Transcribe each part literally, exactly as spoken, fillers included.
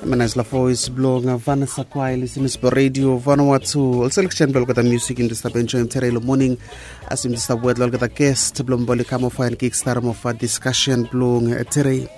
Menaisla voes blong Vanessa Kwai, listening to Radio Vanuatu. Ol selection blong olgeta music yumi stap enjoy tere long morning. As yumi stap wet long olgeta guest blong boli come over and kick start of discussion blong tere.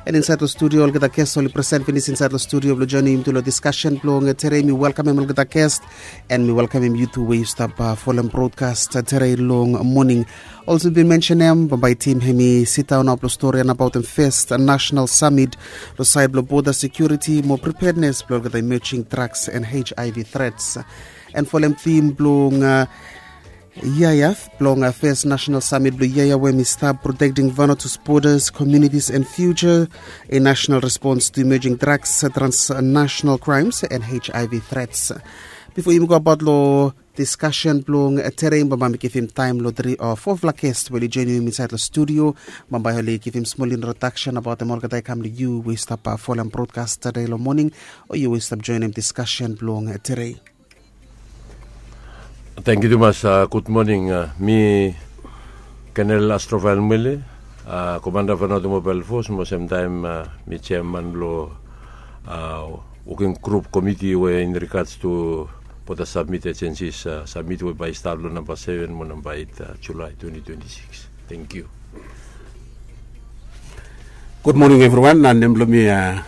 And inside the studio, olgeta guest oli present finish inside the studio blong joining yumi to discussion blong tere. Mi welcome him olgeta guest and mi welcome him you too where you stop uh, follow broadcast tere long morning. Also bin mention em bambae tim hemi sit down up lo story and about em first national summit lo side lo border security mo preparedness blong the emerging drugs and H I V threats. And follow em theme blong uh, Yaya blong uh, first national summit blong Yaya where mi start protecting Vanuatu's borders, communities and future, a national response to emerging drugs, transnational crimes and H I V threats. Before you go about lo discussion blong tere, bambae mi givim time lo three or four fla guest we oli join yumi inside lo studio. Bambae oli givim small introduction about them olgeta i kam lo you we stop uh, follow broadcast tere lo morning, o you we stop join em discussion blong tere. Thank you tumas. Uh, good morning. Uh, mi Colonel Astrovael Mwele, uh, Commander Vanuatu Mobile Force mo same time uh, mi chairman lo uh, working group committee we in regards to border submit agencies uh, submit we by start lo number seven mo number eight uh, July twenty twenty-six. Thank you. Good morning everyone. Uh, nem blong mi uh,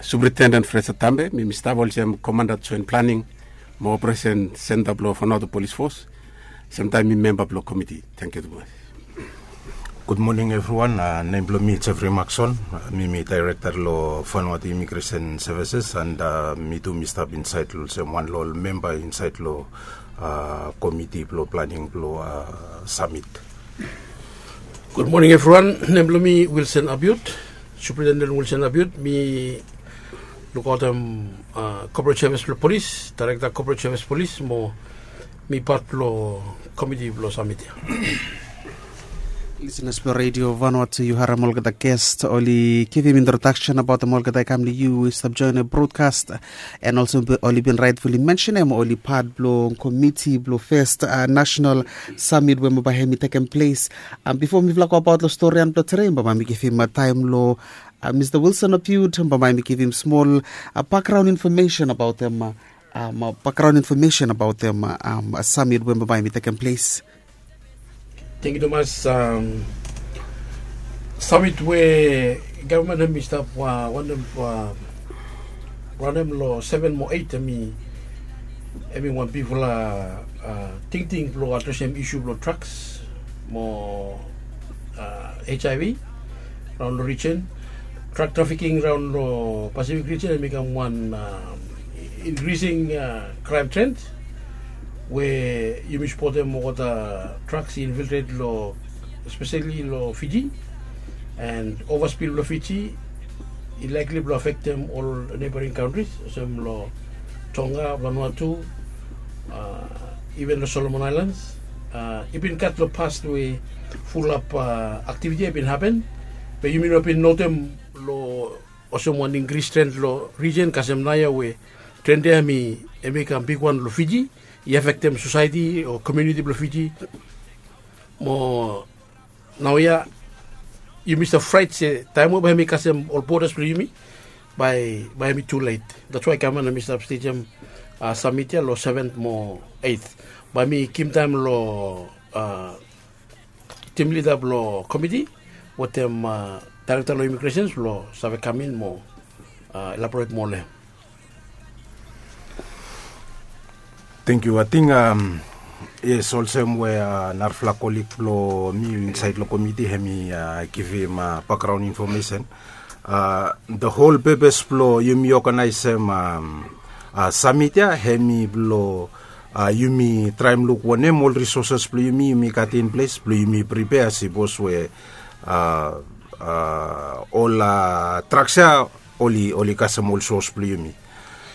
Superintendent Fraser Tambe, mi mi stap olsem Commander Joint Planning mo Operation Center blong Vanuatu Police Force. Same time mi member blong committee. Thank you tumas. Good morning everyone. Uh, nem blong mi Jeffrey Maxon. Uh, mi mi director lo Vanuatu Immigration Services and uh, mi tu mi stap inside lo olsem wan lo ol member inside lo uh, committee blong planning blong uh, summit. Good morning everyone. Nem blong mi Wilson Abiut, Superintendent Wilson Abiut. Mi lukaotem uh, corporate service blong police, director corporate service police mo mi pat blong committee blong summit ya. Listeners blong Radio Vanuatu, you harem olgeta guest oli givim introduction about them olgeta i kam lo you we stop join a broadcast. And also oli bin rightfully mention em oli pat blong committee blong first uh, national summit we bambae hemi tekem place. Um, before mi fla go about lo story and blong tere, bambae mi givim uh, time lo uh, Mr Wilson Abiut, bambae mi givim small uh, background information about them uh, um, uh, background information about them uh, um, uh, summit we bambae mi tekem place. Thank you tumas. Um, summit we government hemi stap uh, wantem uh, ranem lo seven mo eight hemi hemi wan bigfala uh, tingting blong adresem issue blong drugs mo uh, H I V raon lo region. Drug trafficking raon lo Pacific region hemi kam wan uh, increasing uh, crime trend we yumi spotem olgeta drugs i infiltrate lo especially lo Fiji and overspill lo Fiji i likely blong affectem ol neighboring countries olsem lo Tonga, Vanuatu, uh, even lo Solomon Islands. Uh, i bin gat lo past we fulap uh, activity i bin happen be yumi no bin notem lo olsem wan increase trend lo region kasem naoia we trend ya hemi hemi kam bigwan lo Fiji. I affectem society o community blong Fiji mo naoia yumi stap fraet se taem we bae hemi kasem ol borders blong yumi bae bae hemi too late. That's why government hemi stap stagem uh, summit ya lo seventh mo eighth. Bae hemi givim taem lo uh, team leader blong committee wetem uh, director lo immigrations blong save kamin mo uh, elaborate moa long hem. Thank you. I think um, yes, olsem we uh, narafala kolik blong mi inside lo committee hemi uh, givim uh, background information. Uh, the whole purpose blong yumi organizem um, uh, summit ya hemi blong uh, yumi traem luk wanem ol resources blong yumi yumi gat in place blong yumi prepare sipos we uh, uh, ol uh, drugs ya oli oli kasem ol source blong yumi.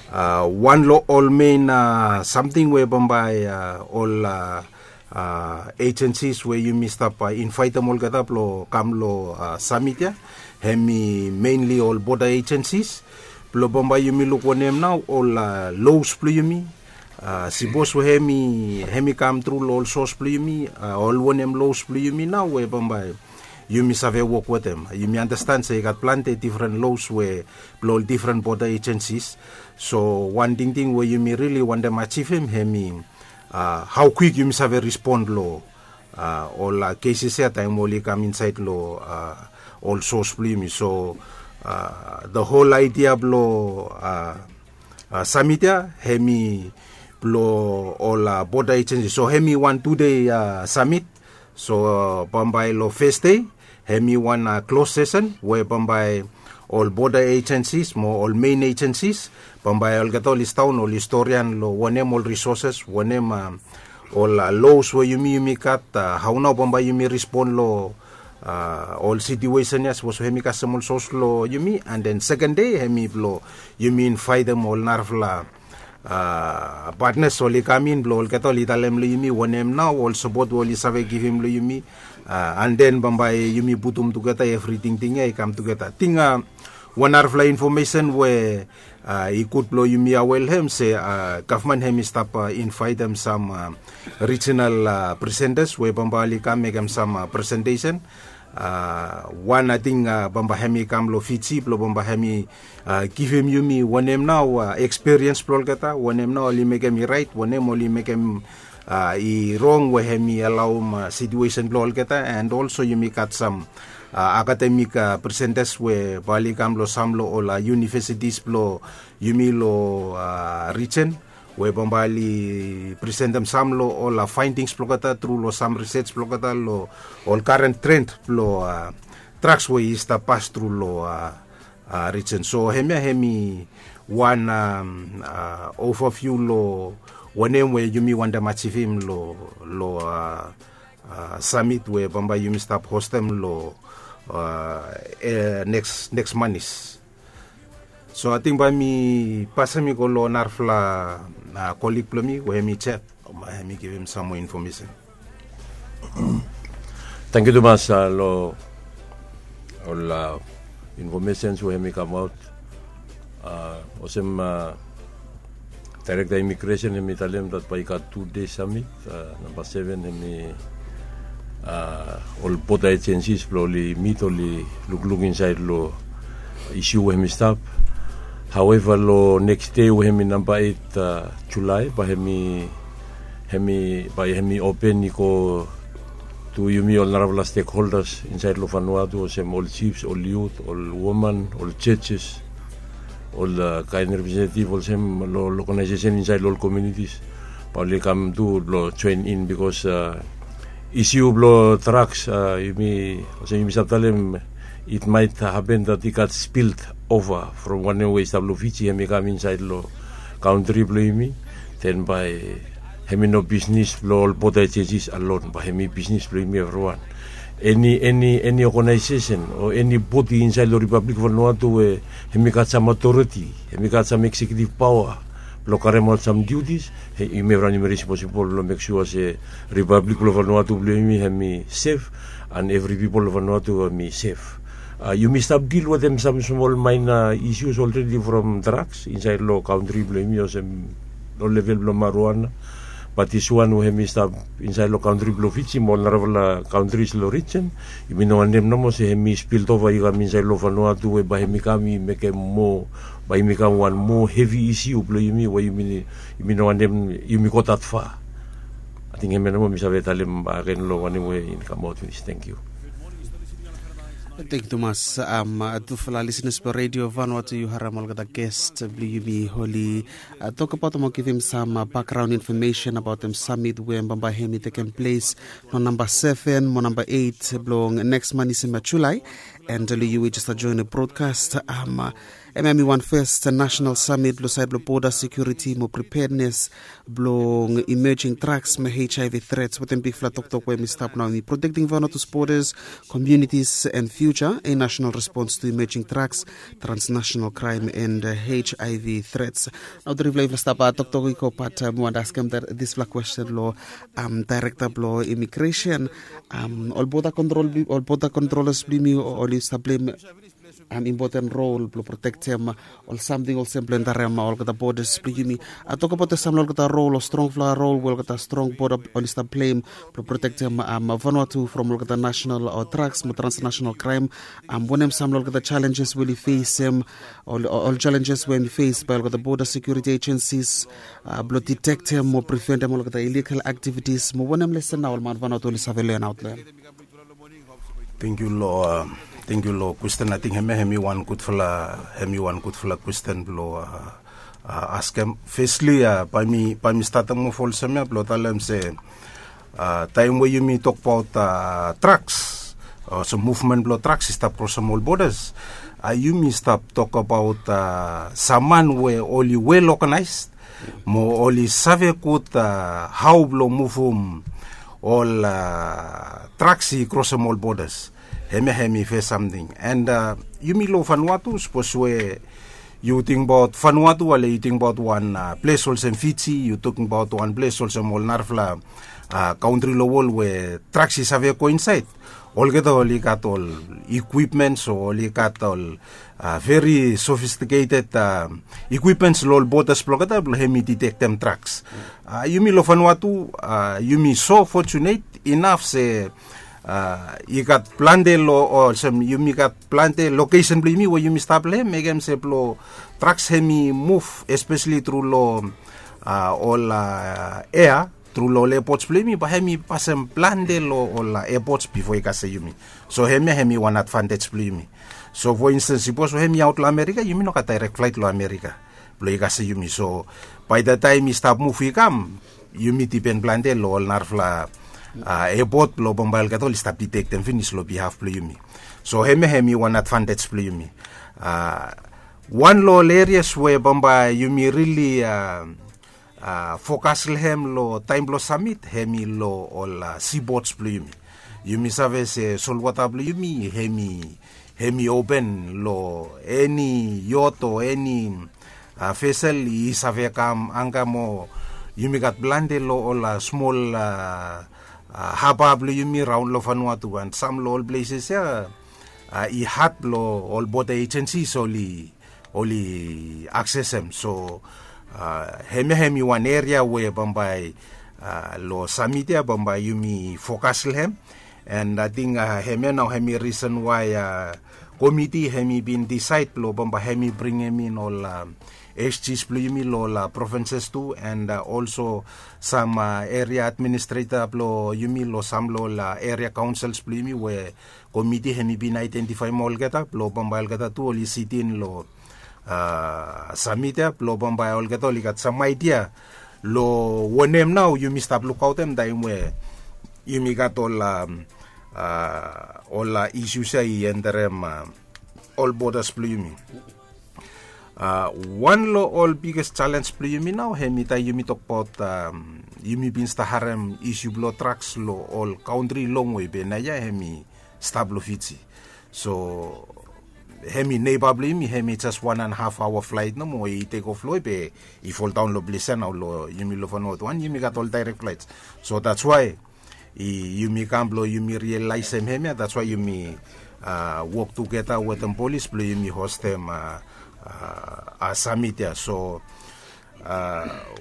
Uh, wan lo ol main uh, samting we bambae uh, ol uh, uh, agencies we yumi stap uh, invaetem olgeta blong kam lo uh, summit ya hemi mainly ol border agencies blong bambae yumi luk wanem nao ol uh, laws blong yumi. Uh, sipos we hemi hemi kam tru lo ol source blong yumi uh, ol wanem laws blong yumi nao we bambae yumi save wok wetem. Yumi andastan se i gat plante difren los we blong ol difren boda ejensis. So wan tingting we yumi rili wantem ajivim hemi hao kwik yumi save respon long ol kesis ya taim oli kam insaid long ol sos blong yumi. So the hol aidia blong samit ya hemi blong ol boda ejensi. So hemi wan tude samit. So bambae long fes dei hemi wan klos sesen we bambae ol boda ejensis mo ol mein ejensis bambae olgeta oli sidaon oli storian long wanem ol risoses, wanem ol los we yumi yumi gat, hao nao bambae yumi respon long ol situesen ya sapos we hemi kasem ol sos long yumi. And then seken dei hemi blong yumi invaitem ol narafala patnas oli kam in blong olgeta oli talem long yumi wanem nao ol sapot we oli save givim long yumi. And then bambae yumi putum tugeta evri tingting ya i kam tugeta. Ting wan narafala infomesen we i gud blong yumi aware hem se gavman hem i stap invaitem sam rijinal presentas we bambae oli kam mekem sam presentesen. Wan ating bambae hem i kam long Fiji blong bambae hem i givim yumi wanem nao ekspiriens blong olgeta, wanem nao oli mekem i rait, wanem oli mekem i rong we hem i alaum situesen blong olgeta. And olso yumi gat sam akademik presentas we bae oli kam long sam long ol univesitis blong yumi long rijen we bambae oli presentem sam long ol faindings blong olgeta tru long sam risej blong olgeta long ol karen tren blong draks we i stap pas tru long rijen. So hemia hemi wan ovaviu long wanem we yumi wantem ajivim long samit we bambae yumi stap hostem long neks manis. So ating bae mi pasem i go long narafala kolik blong mi we hemi Jef. Bae hemi givim sam moa infomesen. Tangkiu tumas long ol infomesens we hemi kamaot. Olsem daerekta imigresen hemi talem dat bae i gat tu dei samit. Namba seven hemi ol boda ejensis blong oli mit oli lukluk insaed long isiu we hemi stap. Haoeva long neks dei we hemi namba eit julae bae hemi hemi bae hemi open i go tu yumi ol narafala stekholdas insaed long Vanuatu olsem ol jifs, ol yut, ol woman, ol jejes, ol kaen representetiv olsem long ol ogenaesesen insaed long ol komiunitis. Bae oli kam tu blong joen in bikos isiu blong draks yumi olsem yumi save talem it maet hapen dat i gat spilt ova from wanem we i stap long Fiji hemi kam insaed long kantri blong yumi. Den bae hemi no bisnis blong ol boda ejensis alon bae hemi bisnis blong yumi evriwan. Eni eni eni ogenaesesen o eni bodi insaed long Ripablik Vanuatu we hemi gat sam otoriti, hemi gat sam eksekiutiv paoa blong karemaot sam diutis, yumi evriwan yumi responsibol blong mek sua se Ripablik blong Vanuatu blong yumi hemi sef an evri pipol long Vanuatu hemi sef. Yumi stap dil wetem sam smol maena isius olredi from draks insaed long kantri blong yumi olsem long level blong maruana. Bat diswan we hemi stap insaed long kantri blong Fiji mo ol narafala kantris long rijen, yumi no wantem nomo se hemi spilt ova i kam insaed long Vanuatu we bae hemi kam i mekem moa bae yumi kam wan moa hevi isiu blong yumi we yumi no wantem yumi go dat fa. Ating hemia nomo mi save talem agen long wanem we i kamaot finis. Tangkiu. Tangkiu tumas. Tufala lisenas blong Redio Vanuatu, yu harem olgeta gest blong yumi oli tokbaot mo givim sam bakgraon infomesen abaotem samit we bambae hemi tekem ples long namba seven mo namba eit blong neks manis hemia Julae. And long yu we jes stap joenem brodkas, hemia hemi wan fes nasenal samit blong saed blong boda sekiuriti mo pripednes blong imejing draks mo HIV trets wetem bigfala toktok we hemi stap nao hemi protekting Vanuatu's bodas, komiunitis and fiuja, a national response to emerging drugs, transnational crime and HIV threats. Nao trifala yufala stap toktok i go bat mi wantem askem dispela kwesten long daerekta blong imigresen. Ol boda kontrol ol boda kontrolas blong yumi oli stap blem impoten rol blong protektem ol samting olsem blong endarem olgeta bodas blong yumi. A tokabaot ol samting olgeta rol o strongfala rol we olgeta strong boda oli stap pleim blong protektem Vanuatu from olgeta national o drugs mo transnational kraim. Wanem samting olgeta challenges we oli fesem, ol challenges we em i fes bai olgeta boda security agencies blong detektem mo preventem olgeta illegal activities mo wanem lesen na ol man Vanuatu oli save lenaot long em? Thank you lo uh, thank you lo question. I think hemi hemi one good fala hemi one good fala question blo uh, uh, ask him. Firstly, uh, by me by me starting mo folsem ya blo talem se uh, time we yumi talk about uh, trucks, uh, so movement blo trucks is stop cross all borders. Uh, yumi stop talk about uh, someone we only well organized mo oli save gud uh, hao blong muvum ol uh, traks i krosem ol bodas. Hemia hemi fes samting and uh, yumi lo Vanuatu, sapos we yu tingbaot Vanuatu ale yu tingbaot wan uh, ples olsem Fiji, yu tingbaot wan ples olsem ol narafala uh, kauntri lo wol we traks i save go insaed. Olgeta oli gat ol ekwipmens o oli gat ol uh, very sophisticated uh, ekwipmens lo ol bodas blong olgeta blong hemi ditektem traks. Uh, yumi lo Vanuatu uh, yumi so fortunate inaf se uh, i gat plante lo olsem yumi gat plante lokesen blong yumi we yumi stap long hem mekem se blong traks hemi muv espeseli tru lo uh, ol uh, ea tru lo ol epots blong yumi bae hemi pasem plante lo ol epots bifo i kasem yumi. So hemia hemi wan advantej blong yumi. So fo instens sipos we hemi aot lo Amerika yumi no gat daerek flaet lo Amerika blong i kasem yumi. So bae da taem i stap muv i kam yumi dipen plante lo ol narafala epot blong bambae olgeta oli stap ditektem finis lo bihaf blong yumi. So hemia hemi wan advantej blong yumi. Wan lo ol erias we bambae yumi rili fokas long hem long taem blong samit hemi long ol sipots blong yumi. Yumi save se solwata blong yumi hemi hemi open long eni yot o eni vesel i save kam anga mo yumi gat plante long ol smol haba blong yumi raon long Vanuatu and sam long ol pleses ya i had blong ol boda ejensis oli oli aksesem. So hemia hemi wan eria we bambae lo samit ya bambae yumi fokas long hem. And ating hemia nao hemi risen wae komiti hemi bin disaed blong bambae hemi bringim in ol sjs blong yumi lo ol provinses tu and olso sam eria administreta blong yumi lo sam lo ol eria kaunsels blong yumi we komiti hemi bin aedentifaem olgeta blong bambae olgeta tu oli sitin long samit ya blong bambae olgeta oli gat sam aedia long wanem nao yumi stap lukaotem taem we yumi gat ol ol isius ya i enterem ol bodas blong yumi. Wan long ol biges jalenj blong yumi nao hemi taem yumi tokbaot yumi bin stap harem isiu blong traks long ol kauntri longwe be naoia hemi stap long Fiji. So hemi neba blong yumi hemi jes wan and haf aoa flaet nomo i tekof long we be i foldaon long ples ya nao long yumi long Vanuatu wan yumi gat ol daerek flaets. So dats wae yumi kam blong yumi rialaesem hemia dats wae yumi wok tugeta wetem polis blong yumi hostem samit ya. So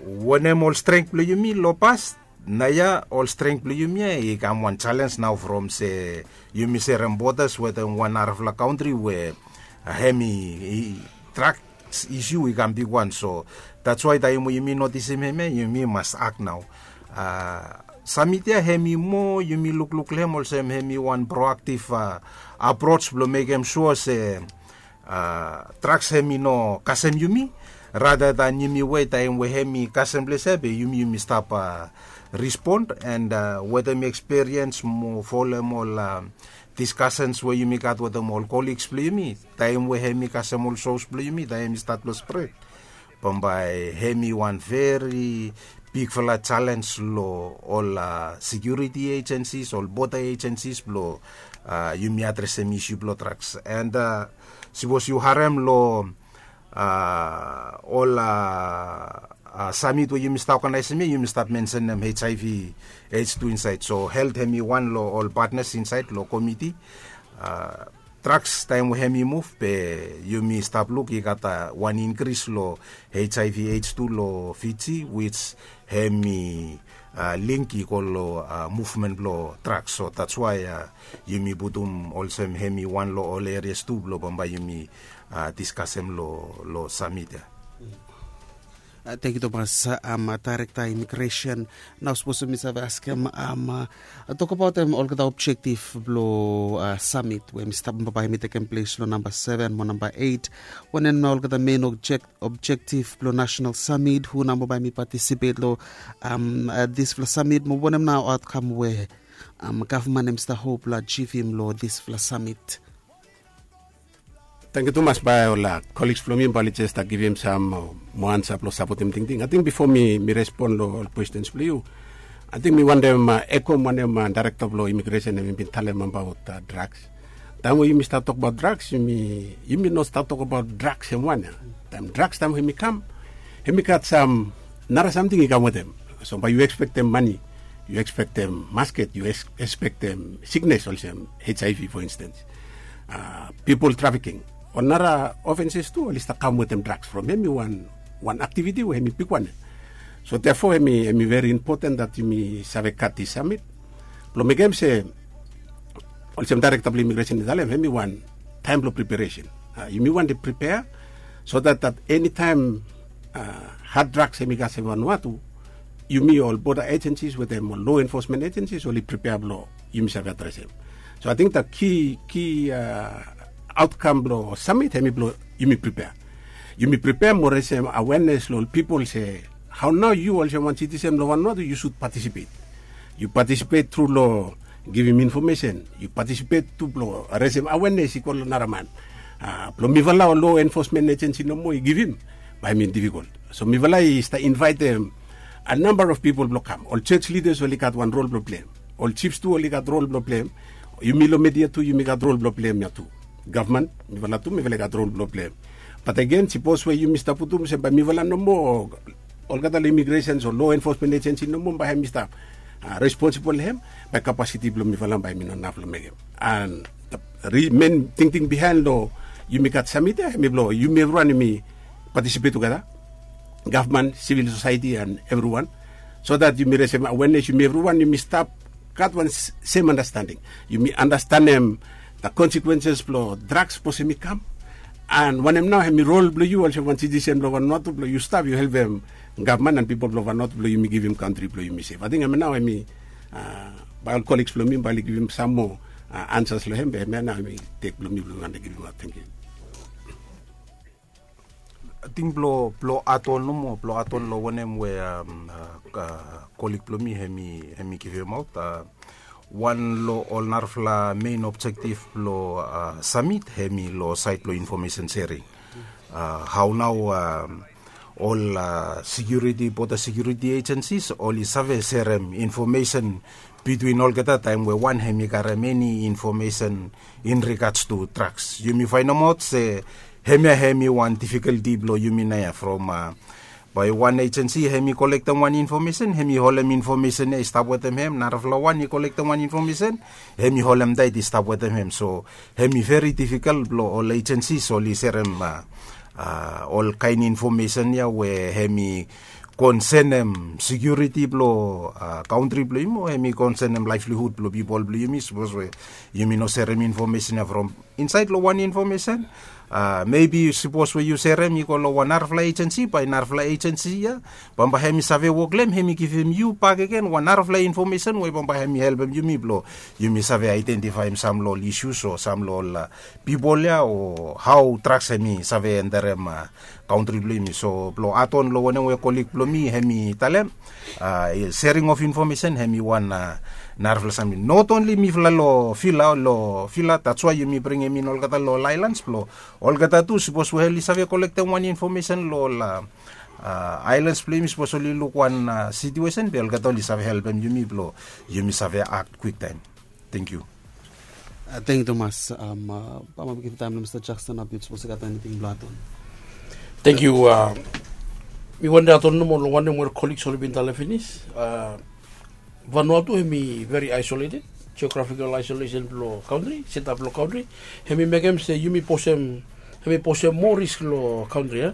wanem ol strength blong yumi long pas naoia ol strength blong yumi ya i kam wan jalenj nao from se yumi serem bodas wetem wan narafala kauntri we hemi trak isiu i kam bigwan. So dats wae taem we yumi notisim hemia yumi mas ak nao. Samit ya hemi moa yumi lukluk long hem olsem hemi wan proaktiv aprots blong mekem sua se traks hemi no kasem yumi rada dan yumi wet taem we hemi kasem ples ya be yumi yumi stap rispon and wetem eksperiens mo folem ol diskasens we yumi gat wetem ol koliks blong yumi taem we hemi kasem ol sos blong yumi taem i stat blong spret bambae hemi wan veri bigfala jalenj long ol sekiuriti ejensis ol boda ejensis blong yumi adresem isiu blong traks. And sipos yu harem long ol samit we yumi stap oganaesem ya yumi stap mensenem hiv aids tu insaed so helt hemi wan long ol patnas insaed long komiti. drugs taem we hem i muv be yumi stap luk i gat wan inkris long HIV AIDS tu long Fiji, which hem i link i go long muvmen blong drugs. So that's why yumi putum olsem hem i wan long ol erias tu blong bambae yumi diskasem long samit ya. Thank you Thomas. Am, director immigration. Nao sapos mi save askem, am, tokabaot em olgeta objektif blong samit we mi stap bambae mi tekem ples long namba seven mo namba eight. Wanem na olgeta mein objektif blong national samit, hu namba bae mi patisipet long am, dispela samit mo wanem na aotkam we am, gavman em stap hop long ajivim long dispela samit? Tangkiu tumas. Bae ol kolis blong mi bae oli jes stap givim sam moa ansa blong sapotim tingting. Ating bifo mi respon long ol kwestens blong yu, ating mi wantem ekom wanem daerekta blong imigresen em i bin talem abaot draks. Taem we yumi stap tokbaot draks, yumi no stap tokbaot draks em wan ya. Taem draks taem hem i kam, hem i gat sam nara samting i kam wetem. So bae yu ekspektem mani, yu ekspektem masket, yu ekspektem siknes olsem HIV for instance, pipol trafiking, ol nara ofenses tu oli stap kam wetem draks from hem i wan aktiviti we hem i bigwan ya. So therefore hem i veri impoten dat yumi save gat dis samit blong mekem se olsem daerekta blong imigresen i talem, hem i wan taem blong priperesen. Yumi wantem pripea so dat dat enitaem had draks hem i kasem vanua tu, yumi ol boda ejensis wetem ol lo enfosmen ejensis oli pripea blong yumi save adresem. So ating dat ki ki aotkam blong samit hem i blong yumi pripea. Yumi pripea mo resem awenes long ol pipol se hao nao yu olsem wan sitisen blong vanua tu yu sud patisipet. Yu patisipet tru long givim infomesen, yu patisipet tu blong resem awenes i go long nara man. Blong mifala ol lo enfosmen ejensi nomo i givim, bae hem i difikol. So mifala i stap invaetem a namba of pipol blong kam. Ol jos lidas oli gat wan rol blong pleim, ol jifs tu oli gat rol blong pleim, yumi long media tu yumi gat rol blong pleim ya tu. Gavman, mifala tu mifala i gat rol blong pleim. Bat agen sipos we yumi stap putum olsem bae mifala nomo, olgeta long imigresen o lo enfosmen ejensi nomo bae hem i stap responsibol long hem, bae kapasiti blong mifala bae hem i no naf long mekem. An men tingting bihaen long yumi gat samit ya hem i blong yumi evriwan yumi patisipet tugeta, gavman, sivil sosaeti an evriwan, so dat yumi resem awenes, yumi evriwan yumi stap gat wan sem andastaning. Yumi andastanem da konsekwenses blong draks sapos hem i kam, an wanem nao hem i rol blong yu olsem wan sitisen blong Vanuatu blong yu stap yu helpem gavman an pipol blong Vanuatu blong yumi givim kantri blong yumi sef. Ating hem nao hem i, bae ol koliks blong mi bae oli givim sam moa ansas long hem, be hem ya nao hem i tek blong mi blong mi wantem givimaot. Tangkiu. Ating blong adon nomo, blong adon long wanem we kolik blong mi hem i givimaot, wan long ol narafala mein objektif blong samit hem i long saed blong infomesen sering. Hao nao ol sekiuriti, boda sekiuriti ejensis oli save serem infomesen bitwin olgeta taem we wan hem i karem eni infomesen in rigats tu draks. Yumi faenemaot se hemia hem i wan difikalti blong yumi naoia from bae wan ejensi hem i kolektem wan infomesen, hem i holem infomesen ya i stap wetem hem, narafala wan i kolektem wan infomesen, hem i holem taet i stap wetem hem. So hem i veri difikal blong ol ejensis oli serem ol kaen infomesen ya we hem i konsenem sekiuriti blong kantri blong yumi o hem i konsenem laevlihud blong pipol blong yumi sapos we yumi no serem infomesen ya from insaed long wan infomesen. Mebi sapos we yu serem i go long wan narafala ejensi, bae narafala ejensi ya bambae hem i save wok long hem hem i givim yu bakegen wan narafala infomesen we bambae hem i helpem yumi blong yumi save aedentifaem sam long ol isus o sam long ol pipol ya o hao draks hem i save enterem kantri blong yumi. So blong adon long wanem we kolik blong mi hem i talem, sering of infomesen hem i wan narafala samting. Not onli mifala long vila, long vila, datswae yumi bringim in olgeta long ol aelans blong olgeta tu sapos we oli save kolektem wan infomesen long ol aelans blong yumi, sapos oli luk wan situesen be olgeta oli save helpem yumi blong yumi save akt kwiktaem. Tangkiu. Tangkiu tumas. Bambae mi givim taem long Mista Jakston na biut sapos i gat eniting blong adon. Tangkiu. Mi wantem adon nomo long wanem we ol koliks oli bin talem finis. Vanuatu hem i veri aisoleted. Geografikol aisolesen blong kantri, setap blong kantri, hem i mekem se yumi posem hem i posem moa risk long kantri a.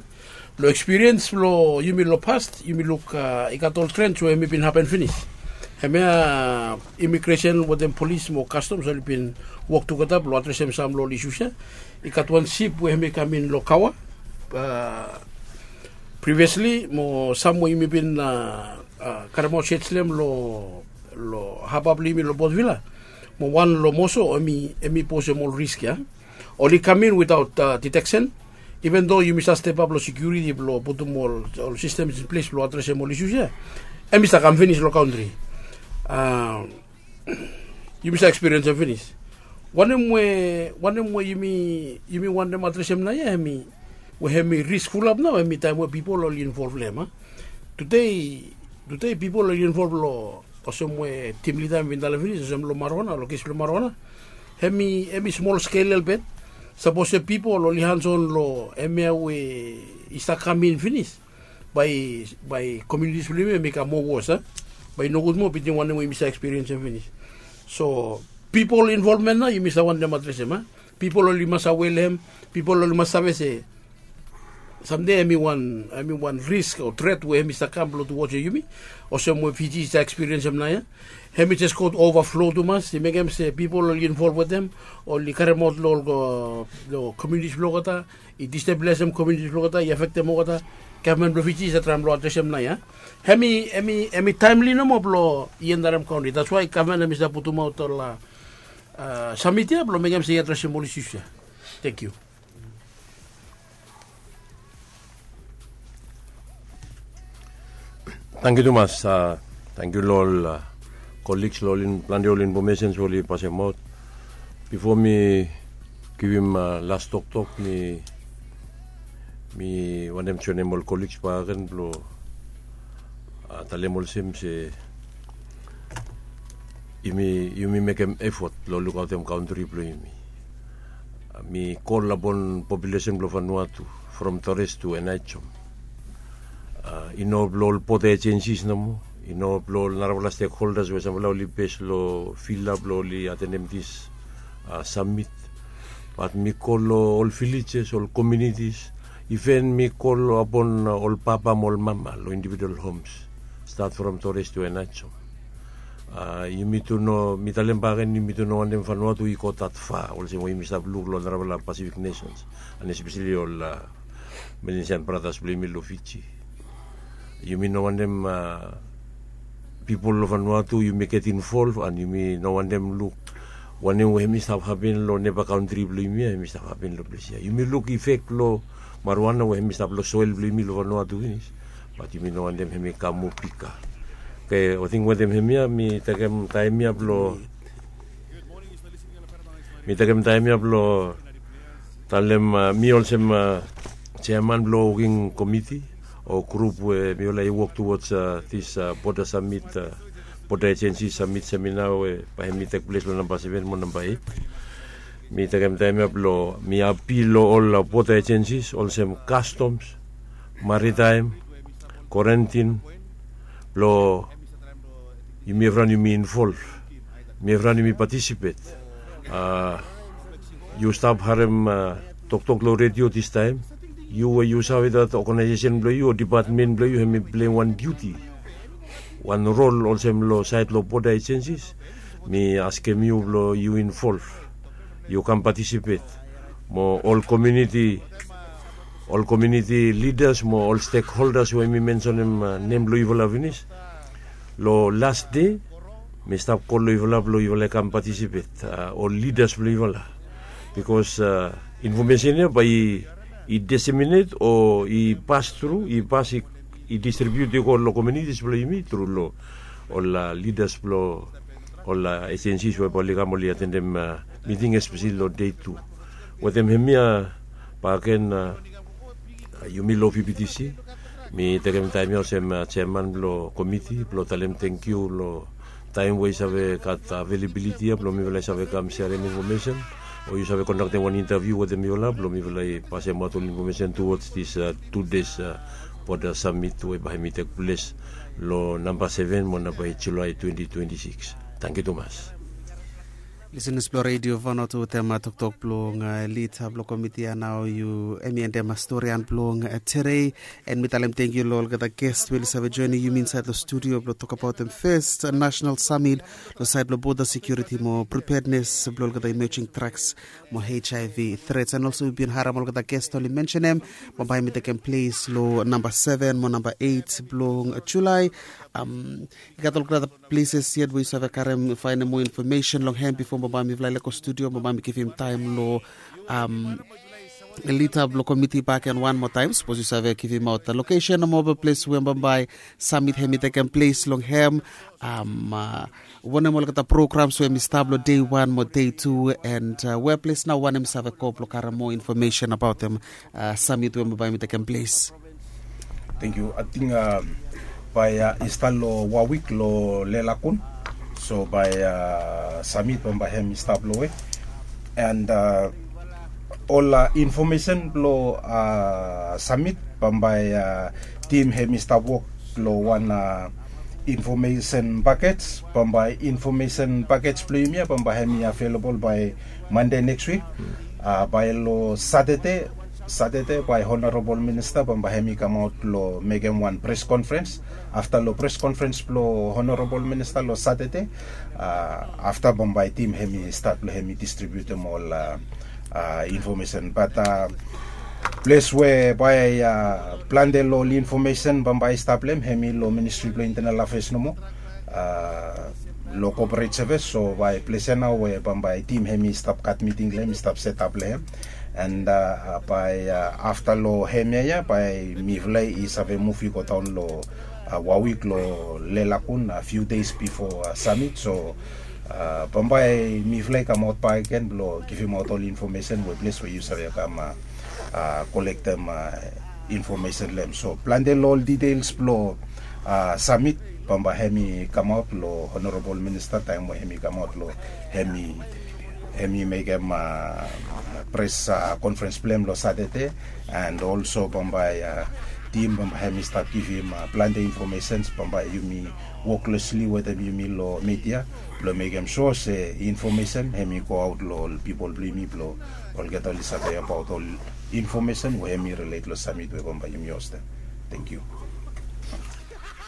Long ekspiriens blong yumi long past yumi luk i gat ol trens we hem i bin hapen finis. Hemia imigresen wetem polis mo kastoms oli bin wok tugeta blong adresem sam long ol isus ya. I gat wan sip we hem i kam in long kawa priviasli mo sam we yumi bin karemaot shet slem long haba blong yumi long botvila mo wan long moso, hem i posem ol risk ya. Oli kam in witaot diteksen. Iven do yumi save stepap long sekiuriti blong putum ol sistems in ples blong adresem ol isus ya, hem i save kam finis long kantri. Yumi save ekspiriensem finis. Wanem we wanem we yumi yumi wantem adresem naoia hem i we hem i risk fulap nao hem i taem we pipol oli involv long hem a. Tude tude pipol oli involv long olsem we tim lida hem i bin talem finis olsem long maruana long kes blong maruana. Hem i smol skel elbet. Sapos we pipol oli hanson long hemia we i stap kam in finis, bae bae komiunitis blong yumi hem i kam moa wos a. Bae i nogud moa bitim wanem we yumi save ekspiriensim finis. So pipol involvmen nao yumi save wantem adresem a. Pipol oli mas awe long hem. Pipol oli mas save se samde hem i wan risk o tret we hem i save kam blong tu wos long yumi. Olsem we fiji i save ekspiriensim nao ya. Hem i jes go ovaflo tumas i mekem se pipol oli involv wetem oli karemaot long ol komiunitis blong olgeta, i destabilisem komiunitis blong olgeta, i afektem olgeta. Gavman blong fiji i save traem blong adresem nao ya. Hem i taemli nomo blong i endarem kantri, datswae gavman hem i save putumaot ol samit ya blong mekem se i adresem ol isus ya. Tengiu. Tankiu tumas. Tankiu long ol koliks long ol plante ol infomesens we oli pasemaot. Bifo mi givim las toktok, mi wantem joenem ol koliks bakagen blong talem olsem se yumi mekem efot long lukaotem kantri blong yumi. Mi kol apon populesen blong Vanuatu from Torres tu Enaijom. I no blong ol boda ejensis nomo, i no blong ol narafala stekholdas we samfala oli bes long fil ya blong oli atendem dis samit. Bat mi kol long ol vilejes, ol komiunitis, iven mi kol apon ol papa mo ol mama long individual homes, stat from Torres tu Enaijom. Yumi tu no, mi talem bakagen, yumi tu no wantem Vanuatu i go dat fa olsem we yumi stap luk long narafala Pasifik nesens, and espeseli ol Melanesian bratas blong yumi long Fiji. Yumi no wantem pipol long Vanuatu yumi get involv and yumi no wantem luk wanem we hem i stap hapen long neba kantri blong yumi ya hem i stap hapen long ples ya. Yumi luk ifek blong maruana we hem i stap long soel blong yumi long Vanuatu finis. Bat yumi no wantem hem i kam moa bika. Oke, ating wetem hemia mi tekem taem ya blong mi tekem taem ya blong talem mi olsem jeaman blong woking komiti o grup we mifala i wok tuwods dis boda samit, boda ejensi samit semina we bae hem i tekples long namba seven mo namba eit. Mi tekem taem ya blong mi apil long ol boda ejensis olsem kastoms, maritaem, korentin blong yumi evriwan yumi involv, yumi evriwan yumi patisipet. Yu stap harem toktok long redio distaem, yu we yu save dat oganaesesen blong yu o dipatmen blong yu hem i pleim wan diuti, wan rol olsem long saed long boda ejensis. Mi askem yu blong yu involv, yu kam patisipet mo ol komiuniti ol komiuniti lidas mo ol stekholdas we mi mensonem nem blong yufala finis. Long las de mi stap kol long yufala blong yufala i kam patisipet, ol lidas blong yufala, bikos infomesen ya bae i deseminet o i pas tru, i pas i distribiut i go long komiunitis blong yumi tru long ol lidas blong ol ejensis we bae oli kam oli atendem miting espeseli long dei tu. Wetem hemia bakegen, yumi long vptc mi tekem taem ya olsem jeaman blong komiti blong talem tangkiu long taem we i save gat avelabiliti ya blong mifala i save kam serem infomesen o yu save kondaktem wan intaviu wetem mifala blong mifala i pasemaot ol infomesen tuwods dis tu des boda samit we bae hem i tekples long namba seven mo namba eit julae twenti twenti sikis. Tangkiu tumas. Lisenas blong redio Vanuatu, wetem toktok blong lida blong komiti ya nao yu em i endem storian blong tere. En mi talem tengkiu long olgeta gest we oli save joinim yumi insaed long studio blong tokabautim fes national summit long saed blong border security mo preparedness blong olgeta emerging threats mo HIV threats. En olso yu bin harem olgeta gest oli mensenem bambae mi tekem ples long namba seven mo namba eight blong Julai. I gat olgeta places yet we yu save karem faenem moa infomesen long hem bifo bambae mifala i lego studio bambae mi givim taem long lida blong komiti baken wan moa taem sapos yu save givimaot lokesen o mobil ples we bambae samit hem i tekem ples long hem. Wanem olgeta programs we hem i stap long dei wan mo dei tu, en weples nao wanem i save go blong karem moa infomesen abaotem samit we bambae hem i tekem ples. Thank you. I think uh, by uh, Easter lo Warwick lo Lelakun. So by uh, Summit bambai hem i stap lo we. And uh, all uh, information lo uh, Summit bambai uh, team hem i stap work lo one uh, information package bambai information package blo yumi ya bambai hem i available by Monday next week. Uh, by lo Saturday Satade bae honorabol minista bambae hem i kamaot long mekem wan pres konferens. Afta long pres konferens blong honorabol minista long Satade, afta bambae tim hem i stat blong hem i distribiutim ol infomesen. Bat ples we bae plante long ol infomesen bambae i stap long hem hem i long ministri blong intenal afes nomo. Long koporet sevis so bae ples ya nao we bambae tim hem i stap gat miting long hem i stap setap long hem. And uh, by uh, after lo hemia ya by miflei is ave movie go down lo uh, wawik lo lelakun a few days before uh, summit. So uh, bambai miflei come out by again blo give him out all information we place where you save come uh, uh, collect them uh, information lem. So plante lo all details blo uh, summit bambai hemi come out lo honorable minister time where hemi come out lo hemi hemi mekem uh, pres uh, conference blem lo Saturday and also bambai uh, tim bambai hemi start give him uh, plante informations bambai yumi work closely with them yumi lo media lo mekem sure se information hemi go out lo people blo yumi blo olgeta oli save about all information we hemi relate lo summit we bambai yumi hostem. Thank you.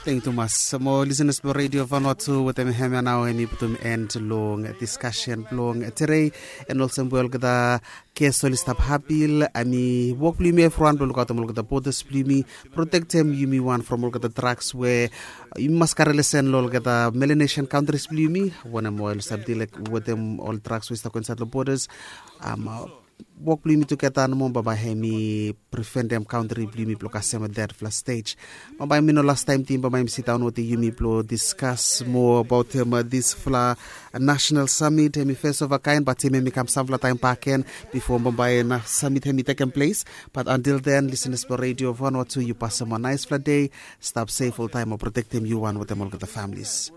Thank you tumas. Mo listeners blong radio Vanuatu wetem hemia nao hemi putum end long discussion blong today. And also we olgeta guest oli stap hapil, I mean work blong yumi evriwan blong lukautim olgeta borders blong yumi, protectem yumi wan from olgeta drugs we yumi mas kare lesen long olgeta Melanesian countries blong yumi. Wanem we oli stap deal wetem ol drugs we stap go inside long borders. Um, wok blong yumi tugeta nomo bambae hemi preventem kantri blong yumi blong kasem detfala stej. Bambae mi no lastaem tim bambae mi sidaon wetem yumi blong diskas moa abaotem disfala national summit hemi fes ova kaen bat tim hemi kam samfala taem baken bifo bambae na summit hemi tekem ples. Bat antil den lisenas blong radio Vanuatu yu pasem wan naesfala dei. Stap sef oltaem o protektem yu wan wetem olgeta familis.